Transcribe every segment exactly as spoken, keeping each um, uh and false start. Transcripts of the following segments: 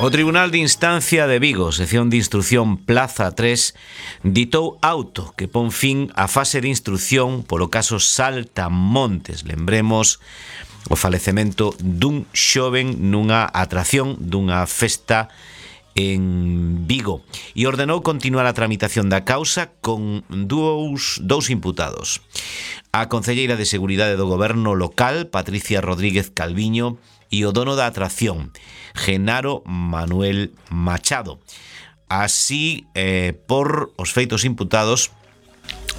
O Tribunal de Instancia de Vigo, sección de instrucción Plaza tres, ditou auto que pon fin á fase de instrucción polo caso Saltamontes. Lembremos o falecemento dun xoven nunha atracción dunha festa en Vigo, e ordenou continuar a tramitación da causa con dous, dous imputados: a concelleira de Seguridade do Goberno local, Patricia Rodríguez Calviño, e o dono da atracción, Genaro Manuel Machado. Así, eh, por os feitos imputados,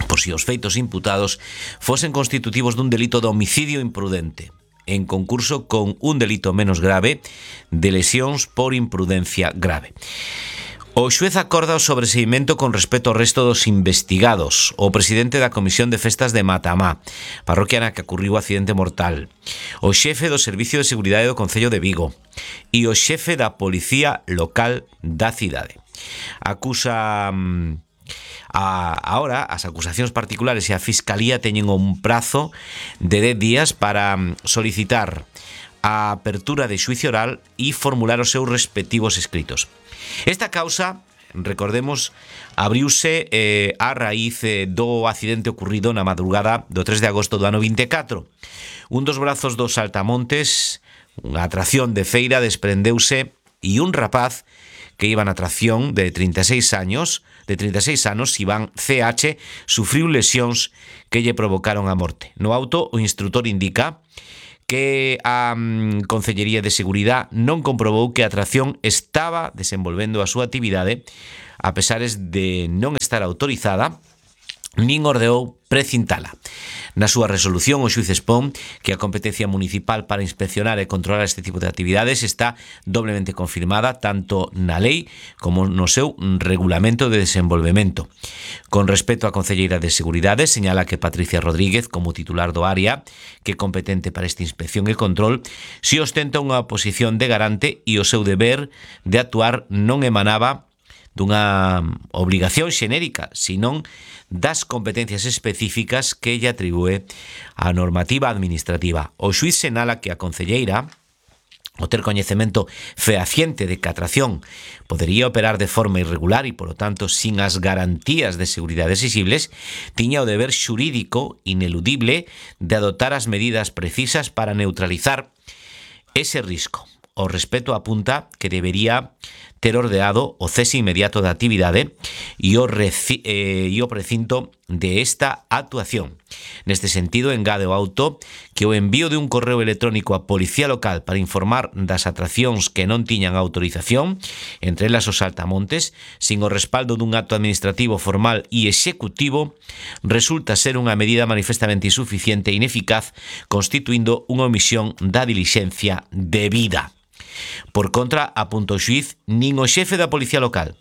por si os feitos imputados fosen constitutivos dun delito de homicidio imprudente, en concurso con un delito menos grave de lesións por imprudencia grave. O xuez acorda o sobreseimento con respecto ao resto dos investigados: o presidente da Comisión de Festas de Matamá, parroquia na que ocurriu o accidente mortal, o xefe do Servicio de Seguridade do Concello de Vigo e o xefe da Policía Local da cidade. Acusa... A, ahora, as acusacións particulares e a Fiscalía teñen un prazo de dez días para solicitar a apertura de xuicio oral e formular os seus respectivos escritos. Esta causa, recordemos, abriuse eh, a raíz eh, do accidente ocurrido na madrugada do tres de agosto do ano vinte e catro. Un dos brazos dos Saltamontes, unha atracción de feira, desprendeuse e un rapaz que iba na atracción de trinta e seis años, de trinta e seis anos, Iván C H, sufriu lesións que lle provocaron a morte. No auto, o instrutor indica que a um, Concellería de Seguridade non comprobou que a atracción estaba desenvolvendo a súa actividade, a pesares de non estar autorizada, nin ordeou precintala. Na súa resolución, o xuíz expón que a competencia municipal para inspeccionar e controlar este tipo de actividades está doblemente confirmada tanto na lei como no seu regulamento de desenvolvemento. Con respecto á Concelleira de Seguridade, señala que Patricia Rodríguez, como titular do área que é competente para esta inspección e control, si ostenta unha posición de garante e o seu deber de actuar non emanaba dunha obrigación xenérica, senón das competencias específicas que lle atribúe a normativa administrativa. O xuíz senala que a concelleira, o ter coñecemento fehaciente de que a atracción podería operar de forma irregular e, polo tanto, sin as garantías de seguridade exigibles, tiña o deber xurídico ineludible de adoptar as medidas precisas para neutralizar ese risco. O respecto apunta que debería ter ordeado o cese inmediato da actividade e o, reci, eh, e o precinto de esta actuación. Neste sentido, engade o auto que o envío de un correo electrónico á Policía Local para informar das atraccións que non tiñan autorización, entre elas os Saltamontes, sin o respaldo dun acto administrativo formal e executivo, resulta ser unha medida manifestamente insuficiente e ineficaz, constituindo unha omisión da dilixencia debida. Por contra, apunta o xuíz, nin o xefe da Policía Local,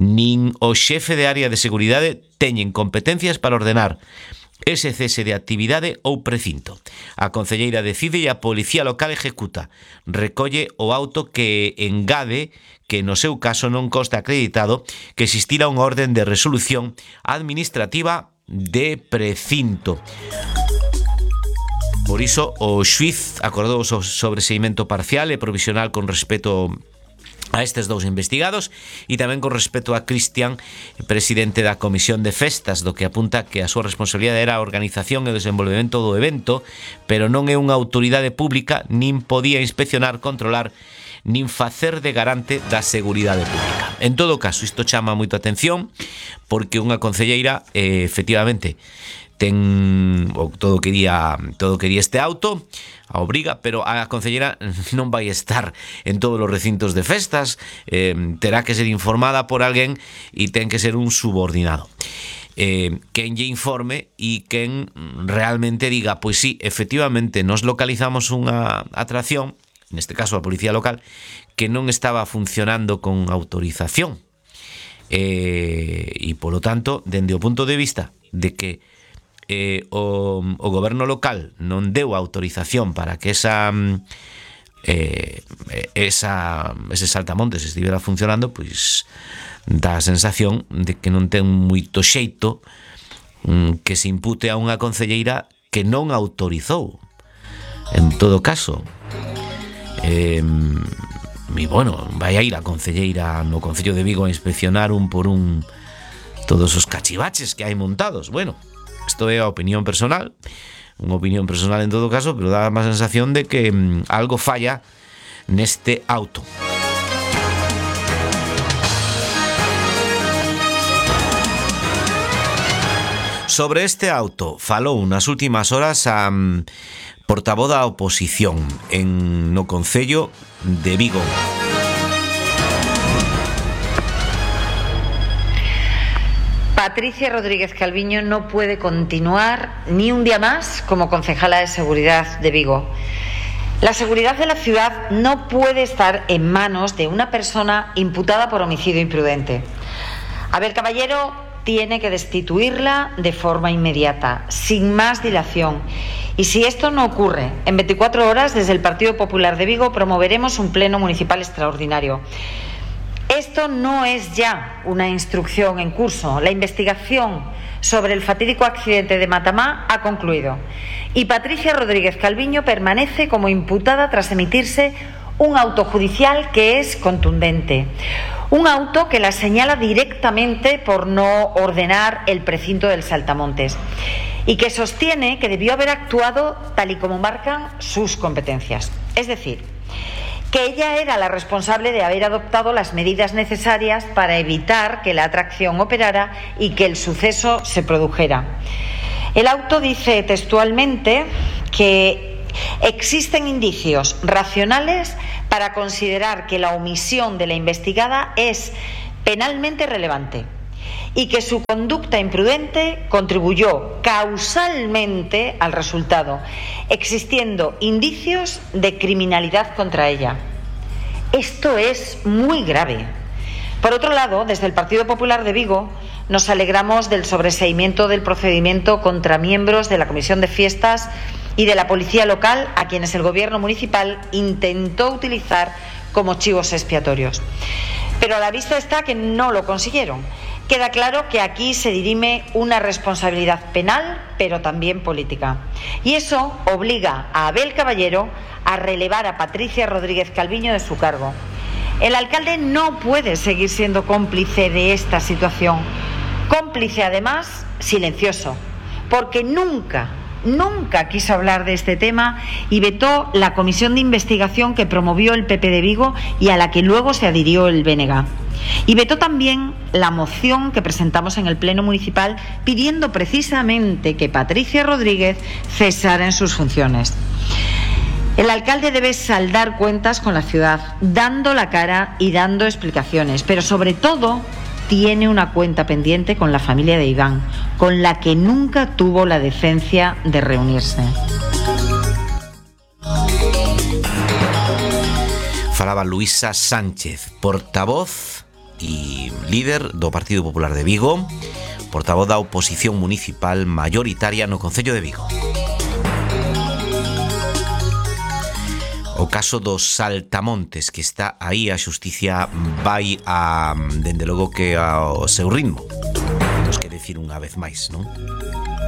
nin o xefe de área de seguridade teñen competencias para ordenar ese cese de actividade ou precinto. A concelleira decide e a Policía Local executa. Recolle o auto que engade que no seu caso non consta acreditado que existira unha orden de resolución administrativa de precinto. Por iso, o xuíz acordou o sobreseimento parcial e provisional con respecto a estes dous investigados e tamén con respecto a Cristian, presidente da Comisión de Festas, do que apunta que a súa responsabilidade era a organización e o desenvolvemento do evento, pero non é unha autoridade pública, nin podía inspeccionar, controlar, nin facer de garante da seguridade pública. En todo caso, isto chama moito a atención porque unha concelleira, eh, efectivamente, ten o, todo quería todo quería este auto, a obriga, pero a concelleira non vai estar en todos os recintos de festas, eh, terá que ser informada por alguén e ten que ser un subordinado. Eh, quen lle informe e quen realmente diga, pois sí, efectivamente, nos localizamos unha atracción, neste caso a Policía Local, que non estaba funcionando con autorización. Eh, e, polo tanto, dende o punto de vista de que Eh, o, o goberno local non deu autorización para que esa eh, esa ese Saltamontes estivera funcionando, pois dá a sensación de que non ten moito xeito mm, que se impute a unha concelleira que non autorizou. En todo caso, eh, E, bueno, vai a ir a concelleira no Concello de Vigo a inspeccionar un por un todos os cachivaches que hai montados. Bueno, isto é a opinión personal, unha opinión personal en todo caso, pero dá má sensación de que mm, algo falla neste auto. Sobre este auto falou nas últimas horas a um, portavoz da oposición en no Concello de Vigo. Patricia Rodríguez Calviño no puede continuar ni un día más como concejala de seguridad de Vigo. La seguridad de la ciudad no puede estar en manos de una persona imputada por homicidio imprudente. Abel Caballero tiene que destituirla de forma inmediata, sin más dilación. Y si esto no ocurre, en veinticuatro horas, desde el Partido Popular de Vigo promoveremos un pleno municipal extraordinario. Esto no es ya una instrucción en curso. La investigación sobre el fatídico accidente de Matamá ha concluido. Y Patricia Rodríguez Calviño permanece como imputada tras emitirse un auto judicial que es contundente. Un auto que la señala directamente por no ordenar el precinto del Saltamontes y que sostiene que debió haber actuado tal y como marcan sus competencias. Es decir, que ella era la responsable de haber adoptado las medidas necesarias para evitar que la atracción operara y que el suceso se produjera. El auto dice textualmente que existen indicios racionales para considerar que la omisión de la investigada es penalmente relevante y que su conducta imprudente contribuyó causalmente al resultado, existiendo indicios de criminalidad contra ella. Esto es muy grave. Por otro lado, desde el Partido Popular de Vigo nos alegramos del sobreseimiento del procedimiento contra miembros de la Comisión de Fiestas y de la Policía Local, a quienes el Gobierno municipal intentó utilizar como chivos expiatorios. Pero a la vista está que no lo consiguieron. Queda claro que aquí se dirime una responsabilidad penal, pero también política. Y eso obliga a Abel Caballero a relevar a Patricia Rodríguez Calviño de su cargo. El alcalde no puede seguir siendo cómplice de esta situación. Cómplice, además, silencioso, porque nunca... Nunca quiso hablar de este tema y vetó la comisión de investigación que promovió el P P de Vigo y a la que luego se adhirió el B N G. Y vetó también la moción que presentamos en el Pleno Municipal pidiendo precisamente que Patricia Rodríguez cesara en sus funciones. El alcalde debe saldar cuentas con la ciudad, dando la cara y dando explicaciones, pero sobre todo tiene una cuenta pendiente con la familia de Iván, con la que nunca tuvo la decencia de reunirse. Falaba Luisa Sánchez, portavoz e líder do Partido Popular de Vigo, portavoz da oposición municipal maioritaria no Concello de Vigo. O caso dos Saltamontes, que está aí, a xusticia vai a, dende logo que ao seu ritmo. Temos que decir unha vez máis, non?